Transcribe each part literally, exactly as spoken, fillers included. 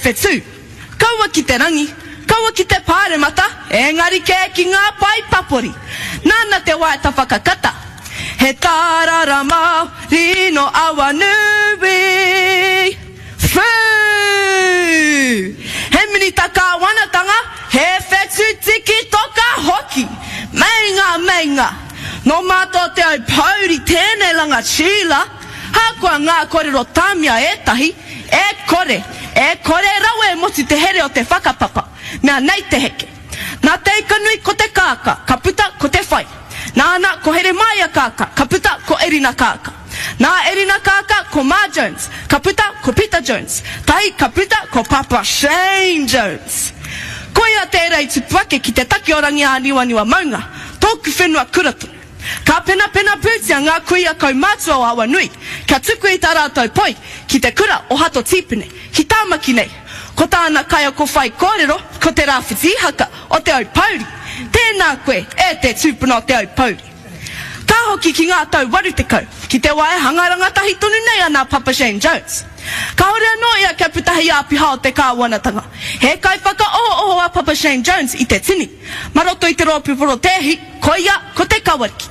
whetū. Kaua ki te rangi, kaua ki te pāremata, engari kē ki ngā pae papori. Nāna te waiata whakakata. He tārara Māori nō Awanui. Whū! He minita kāwanatanga, he whetū tiki toka hoki. Meinga, meinga! Nō mātou Te Aupōuri tēnei rangatira, hakoa ngā kōrero tāmia ētahi, e kore, e kore rawa e motu te here o te whakapapa, mea nei te heke. Nā Te Ikanui ko te kākā, ka puta ko te whai. Nāna ko Heremaia Kākā, ka puta ko Erina Kākā. Nā Erina Kākā ko Ma Jones, ka puta ko Pita Jones. Tahi ka puta ko Papa Shane Jones. Koia tērā i tupu ake ki te take o Rangiāniwaniwa maunga, tōku whenua kura tonu. Ka penapena pūtia ngā kuia kaumātua o Awanui kia tuku i tā rātou poi ki te kura o Hato Tīpene, ki Tāmaki nei. Ko tāna kaiako whaikōrero ko Te Rāwhiti Ihaka o Te Aupōuri. Tēnā koe, e te tūpuna o Te Aupōuri. Ka hoki ki ngā tau waru tekau, ki te wā e hanga rangatahi tonu nei ana a Papa Shane Jones. Kāore anō ia kia puta hei āpiha o te kāwanatanga. He kaiwhakaohooho a Papa Shane Jones i te tini. Mā roto i te rōpū porotēhi, koia ko Te Kawariki.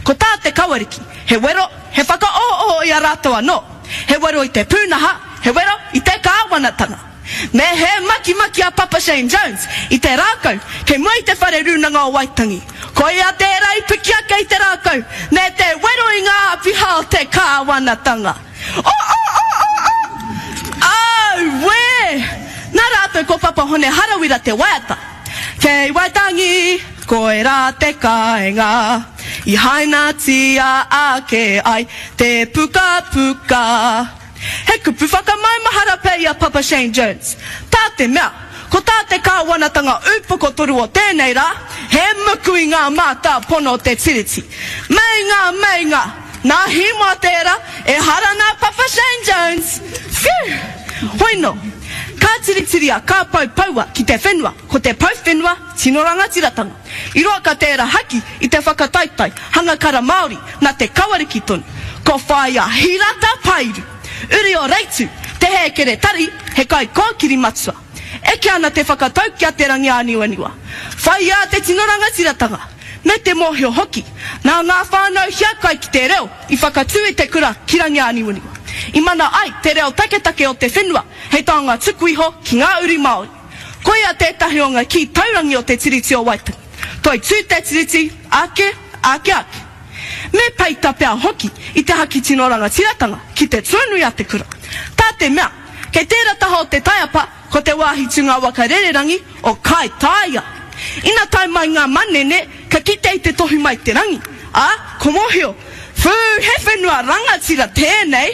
Ko tā Te Kawariki, he wero, he whakaohooho i a rātou anō. He wero i te pūnaha, he wero i te kāwanatanga. Me he makimaki a Papa Shane Jones i te rākau kei mua i te Whare Rūnanga o Waitangi. Koia tērā i piki ake i te rākau me te wero i ngā āpiha o te kāwanatanga. O o o o o! Auē! Nā rātou ko Papa Hone Harawira te waiata. Kei Waitangi, koirā te kāinga i hainatia ake ai te pukapuka. He kupu whakamaumahara pea i a Papa Shane Jones. Tā te mea, ko tā te kāwanatanga upoko toru o tēnei rā, he muku i ngā mātāpono o te Tiriti. Meinga, meinga! Nā Hīmoa tērā, ehara nā Papa Shane Jones! Whew! Hoino, ka tiritiria kā pou poua ki te whenua, ko te pou whenua tino rangatiratanga. I roa ka tērā haki i te whakataetae hanga kara Māori nā Te Kawariki tonu. Ko Whaea Hirata Pairu, uri o Reitu, te hēkeretari, he kaikōkiri matua. Eke ana te whakatau ki a Te Rangiāniwaniwa. Whaiā te tino rangatiratanga, me te mōhio hoki, nā ngā whānau hiakai ki te reo i whakatū i te kura ki Rangiāniwaniwa. I mana ai te reo taketake o te whenua hei taonga tuku iho ki ngā uri Māori. Koia tētahi o ngā kī taurangi o te Tiriti o Waitangi. Toitū te Tiriti, ake, ake, ake. Me peita pea hoki i te haki tino rangatiratanga ki te tuanui a te kura. Tā te mea, kei tērā taha o te taiapa ko te wāhi tūnga waka rererangi o Kaitaia. Ina tae mai ngā manene, ka kite i te tohu mai te rangi, ā, ko mōhio, Whū, he whenua rangatira tēnei!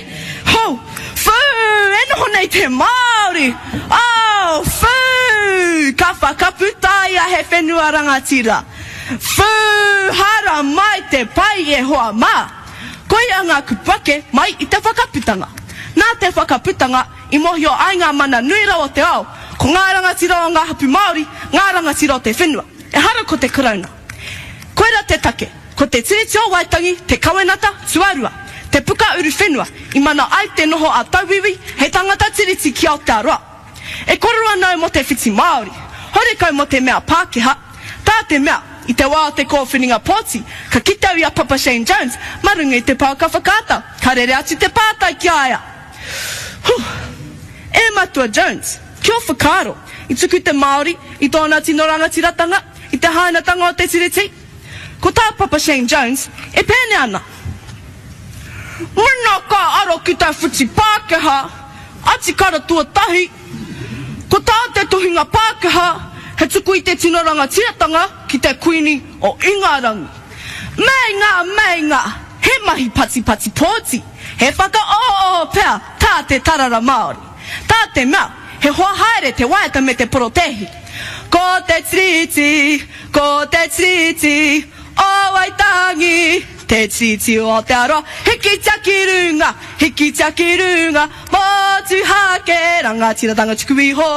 Ho! Whū, e noho nei te Māori! Oh, whū! Ka whakaputaia he whenua rangatira! Whū! Hara mai te pai e hoa mā! Koia ngā kupu ake mai i te whakaputanga. Nā te whakaputanga i mōhio ai ngā mana nui rawa o te ao, ko ngā rangatira o ngā hapū Māori ngā rangatira o te whenua, ehara ko te Karauna. Koira te take, ko te Tiriti o Waitangi te kawenata tuarua, te puka uruwhenua i mana ai te noho a tauiwi hei tangata tiriti ki Aotearoa. E korero ana au mō te whiti Māori, horekau mō te mea Pākehā. Tā te mea, i te wā o te kōwhiringa pōti, ka kite au i a Papa Shane Jones mā runga i te pouaka whakaata, ka rere atu te pātai ki a ia. Huh! E Matua Jones, ki ō whakaaro, i tuku te Māori i tōna tino rangatiratanga i te hainatanga o te Tiriti? Ko tā Papa Shane Jones, e pēnei ana. Mena ka aro ki te whiti Pākehā, atikara tuatahi, ko tā te tuhinga Pākehā he tuku i te tino rangatiratanga ki te Kuini o Ingarangi. Meinga, meinga, he mahi patipati pōti, he whakaohooho pea tā te tarara Māori. Tā te mea, he hoa haere te waiata me te porotēhi. Ko te Tiriti, ko te Tiriti o Waitangi, te Tiriti o Aotearoa, hikitia ki runga, hikitia ki runga, motuhake, rangatiratanga tuku iho.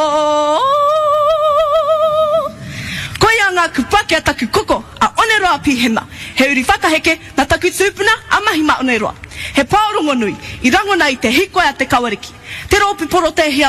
Koia ngā kupu ake a taku koko, a Oneroa Pihema, he uri whakaheke nā taku tūpuna a Mahima Oneroa. He pao rongonui i rangona i te hīkoi a Te Kawariki, te rōpū porotēhi a